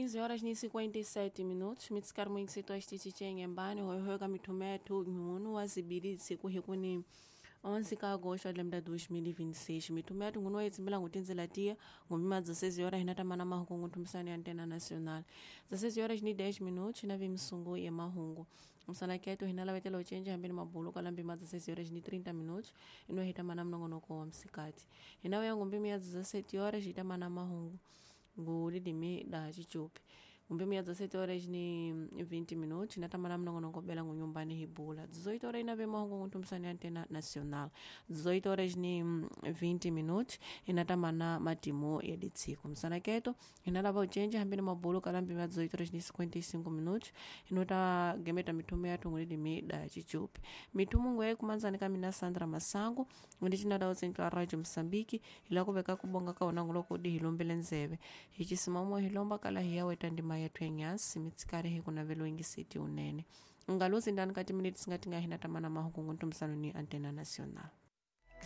15 horas ni 57 minutos mitsikari mwingisito axitichi embani hoyohoyo ka mithumo yathu nhunu wa zibilitsi kuhikuni 11 ka agosto de 2026. Mithumo yathu ngunu wayitsimbila ngutinzela tiya ngumima 16 horas hinatamana mahungu ngunthumisani ya antena nacional. 16 horas ni 10 minutos hinavi misungu ya mahungu msanaketo hinalavetela ucenji hambeni mabulu kala mbima 16 horas ni 30 minutos ino hitamana mnongonoko wa msikati. Hinaweya ngumbimi ya 17 horas hitamana mahungu ngulilimi da xicupi ngumbimi ya 17 horas ni 20 minutos inatamana mnongonoko bela ngunyumbani hibula. 18 horas inave mahungu ngunthumisani ya antena nacional. 18 horas ni 20 minutos inatamana matimo ya ditsiko msanaketo inalava ucenji hambeni mabulu kala mbimi ya 18 horas ni 55 minutos inota gemeta mithumo yathu ngulilimi da xicupi. Mithumo ngwe kumanzani ka mina Sandra Masango ngundicinada utsentwa Radio Mosambiki hila kuveka kubonga ka wona nguloko di hilombele ndzeve hi cisimamo hilomba kala hi ya weta ndima yathu enyasi mitsikari hi kunavelo ingiseti unene ungaluzi ndani ka timiniti singatinga hina tamana mahungu nguntumisano ni antena nacional.